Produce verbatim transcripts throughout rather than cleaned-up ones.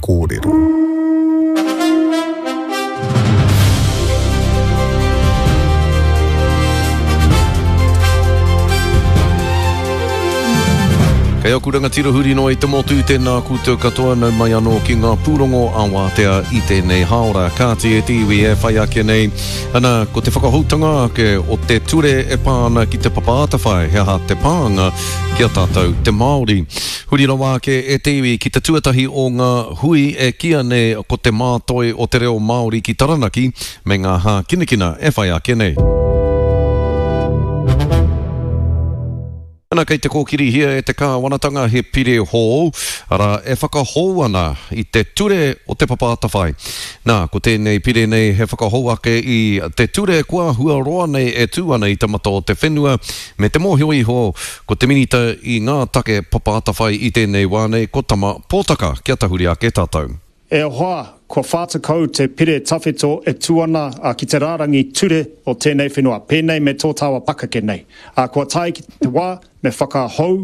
Kōrero. Kei aku rangatira huri noa i te motu, tēnā koutou katoa, nau mai anō ki ngā pūrongo a Wātea i tēnei hāora. Kāti e te iwi e whai ake nei, ana, ko te whakahoutanga ake o te ture e pā ana ki te Papa Atawhai, he aha te pānga ki a tātou te Māori. Huri rawa ake e te iwi ki te tuatahi o ngā hui e kīia nei ko te mātoi o te reo Māori ki Taranaki me ngā hākinakina e whai ake nei. Ana kei te kōkirihia e te kāwanatanga he pire hou, arā, e whakahou ana i te ture o te Papa Atawhai. Nā, ko tēnei pire nei he whakahou ake i te ture kua hua roa nei e tū ana i te mata o te whenua, me te mōhio iho ko te minita i ngā take Papa Atawhai i tēnei wā nei ko Tama Pōtaka. Kia tahuri ake tātou. E hoa, kua whā tekau te pire tawhito e tū ana ki te rārangi ture o tēnei whenua, pēnei me tō tāua pakeke nei. Kua tae ki te wā me whakahou,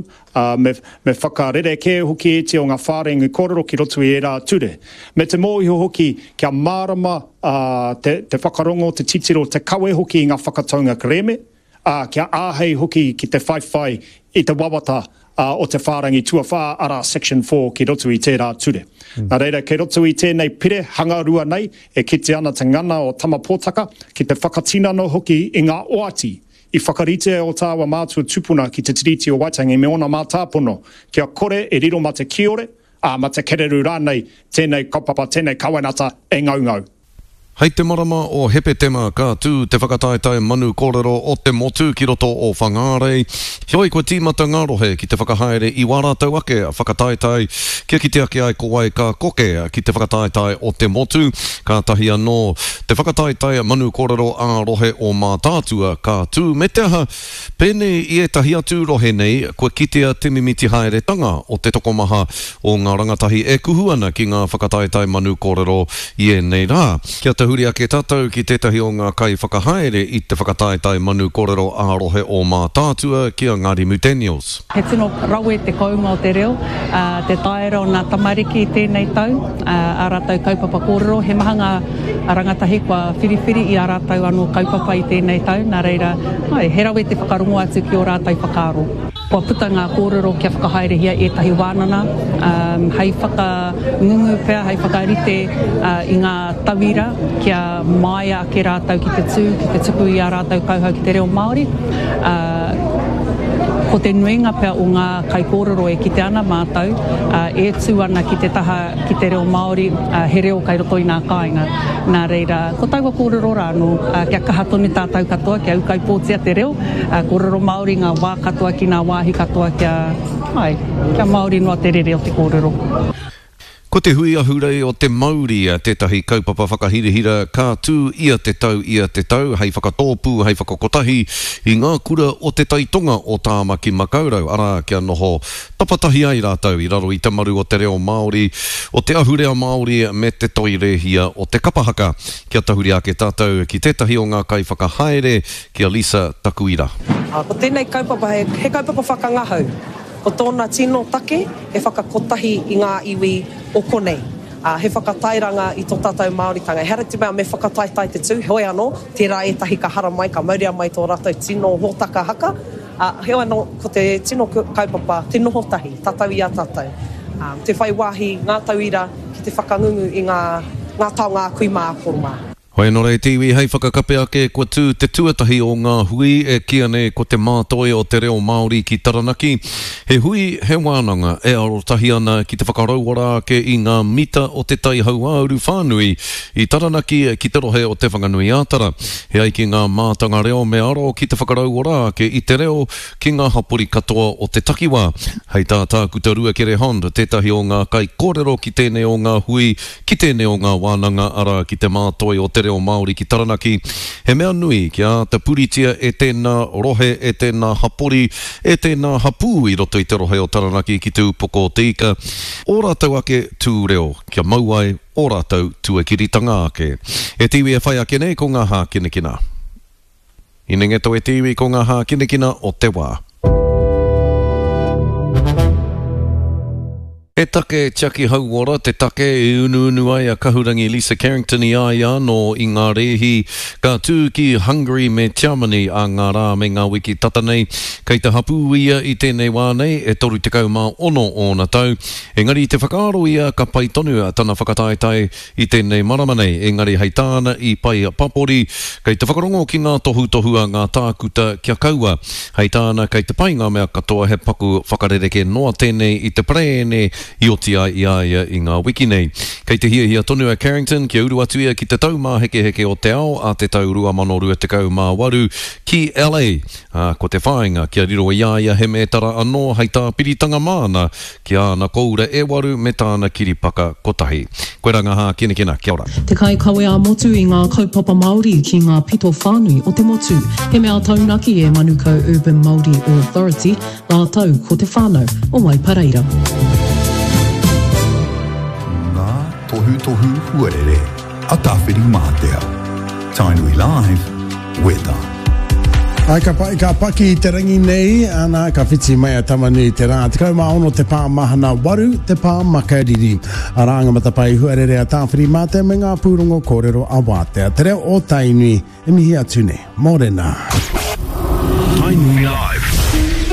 me, me whakarerekē hoki ēti o ngā whārangi kōrero ki roto i ērā ture. Me te mōhio hoki kia mārama te, te whakarongo, te titiro, te kawe hoki i ngā whakataunga kerēme, ā, kia āhei hoki ki te whaiwhai i te wawata o te whārangi tuawhā, arā Section four ki roto i tērā ture. Mm. Nā reira, kei roto i tēnei pire hangarua nei, e kite ana te ngana o Tama Pōtaka ki te whakatinana hoki i ngā oati i whakaritea o tāua mātua tupuna ki te Tiriti o Waitangi me ōna mātāpono, kia kore e riro mā te kiore, ā, mā te kereru rānei tēnei kaupapa, tēnei kawenata e ngaungau. Hei te marama o Hepetema ka tū te whakataetae manu kōrero o te motu ki roto o Whangārei. Heoi kua tīmata ngā rohe ki te whakahaere i wā rātou ake whakataetae kia kite ake ai ko wai ka koke ki te whakataetae o te motu. Kātahi anō te whakataetae manu kōrero ā-rohe o Mātaatua ka tū me te aha, pēnei i ētahi atu rohe nei kua kitea te mimiti haeretanga o te tokomaha o ngā rangatahi e kuhu ana ki ngā whakataetae manu kōrero i ēnei rā. Kia tahuri ake tātou ki tētahi o ngā kaiwhakahaere i te whakataetae manu kōrero ā-rohe o Mātaatua ki a Ngārimu Daniels. He tino rawe te kounga o te reo, te taera o ngā tamariki i tēnei tau, ā rātou kaupapa kōrero. He maha ngā rangatahi kua whiriwhiri i ā rātou anō kaupapa i tēnei tau, nā reira, āe, he rawe te whakarongo atu ki ō rātou whakaaro. Kua puta ngā kōrero kia whakahaerehia ētahi wānanga, hei whakangungu pea, hei whakarite i ngā tauira kia māia ake rātou ki te tū, ki te tuku i ā rātou kauhau ki te reo Māori. Ko te nuinga pea o ngā kaikōrero e kite ana mātou, e tū ana ki te taha ki te reo Māori, he reo kai roto i ngā kāinga. Nā reira, ko taua kōrero rā anō, kia kaha tonu tātou katoa, kia ūkaipōtia te reo, kōrero Māori ngā wā katoa ki ngā wāhi katoa kia, ai, kia Māori noa te rere o te kōrero. Ko te hui ahurei o te mauri tētahi kaupapa whakahirahira ka tū ia te tau ia te tau hei whakatōpū, hei whakakotahi i ngā kura o te taitonga o Tāmaki Makaurau, arā kia noho tapatahi ai rātou i raro i te maru o te reo Māori, o te ahurea Māori me te toi rēhia o te kapa haka. Kia tahuri ake tātou ki tētahi o ngā kaiwhakahaere, ki a Lisa Takuira. Ko tēnei kaupapa he, he kaupapa whakangahau. Ko tōna tino take he whakakotahi i ngā iwi o konei. He whakatairanga i tō tātou Māoritanga. Ehara te mea me whakataetae te tū, heoi anō, tērā ētahi ka haramai, ka mauria mai tō rātou tino hōtaka haka. Heoi anō, ko te tino kaupapa, te noho tahi, tātou i a tātou. Te whai wāhi ngā tauira ki te whakangungu i ngā, ngā taonga a kui mā, a koro mā. Hoi anō rei te iwi hei whakakape ake kua tū te tuatahi o ngā hui e kīia nei ko te mātoi o te reo Māori ki Taranaki. He hui, he wānanga e arotahi ana ki te whakarauora ake i ngā mita o te tai hauāuru whānui i Taranaki ki te rohe o Te Whanganui-ā-Tara. He ai ki ngā mātanga reo me aro ki te whakarauora ake i te reo ki ngā hapori katoa o te takiwā. Hei tā Tākuta Ruakere Hond, tētahi o ngā kaikōrero ki tēnei o ngā hui, ki tēnei o ngā wānanga, arā ki te mātoi o te reo Māori ki Taranaki, he mea nui kia āta puritia e tēnā rohe, e tēnā hapori, e tēnā hapū i roto i te rohe o Taranaki ki te upoko o te ika, ō rātou ake tū reo, kia mau ai ō rātou tuakiritanga ake. E te iwi e whai ake nei ko ngā hākinakina. Hinengeto e te iwi ko ngā hākinakina o te wā. He take tiaki hauora te take i unuunu ai a Kahurangi Lisa Carrington i a ia anō i ngā rēhi ka tū ki Hungary me Tiamani ā ngā rā me ngā wiki tata nei. Kei te hapū ia i tēnei wā nei, e toru tekau mā ono ōna tau. Engari i te whakaaro ia ka pai tonu tana whakataetae i tēnei marama nei, engari hei tāna i pai papori, kei te whakarongo ki ngā tohutohu a ngā tākuta kia kaua. Hei tāna kei te pai ngā mea katoa he paku whakarerekē noa tēnei i te parēne i oti ai i a ia i ngā wiki nei. Kei te hiahia tonu a Carrington kia uru atu ia ki te Taumāhekeheke o te Ao a te tau rua mano rua tekau mā waru ki L A, ā, ko te whāinga kia riro i a ia he mētara anō hei tāpiritanga māna ki āna kōura e waru me tāna kiripaka kotahi. Koirā ngā hākinakina. Kia ora. Te kaikawe ā-motu i ngā kaupapa Māori ki ngā pito whānui o te motu. He mea taunaki e Manukau Urban Māori Authority rātou ko te whānau o Waipareira. Ngā tohutohu huarere a Tāwhirimātea. Tainui Live, Weta. Ai, ka pai, ka paki i te rangi nei, ana, ka whiti mai a Tamanui te rā. Tekau mā ono te pā mahana, waru te pā makariri. Arā ngā matapae huarere a Tāwhirimātea me ngā pūrongo kōrero a Wātea. Te reo o Tainui, e mihi atu nei. Mōrena. Tainui Live.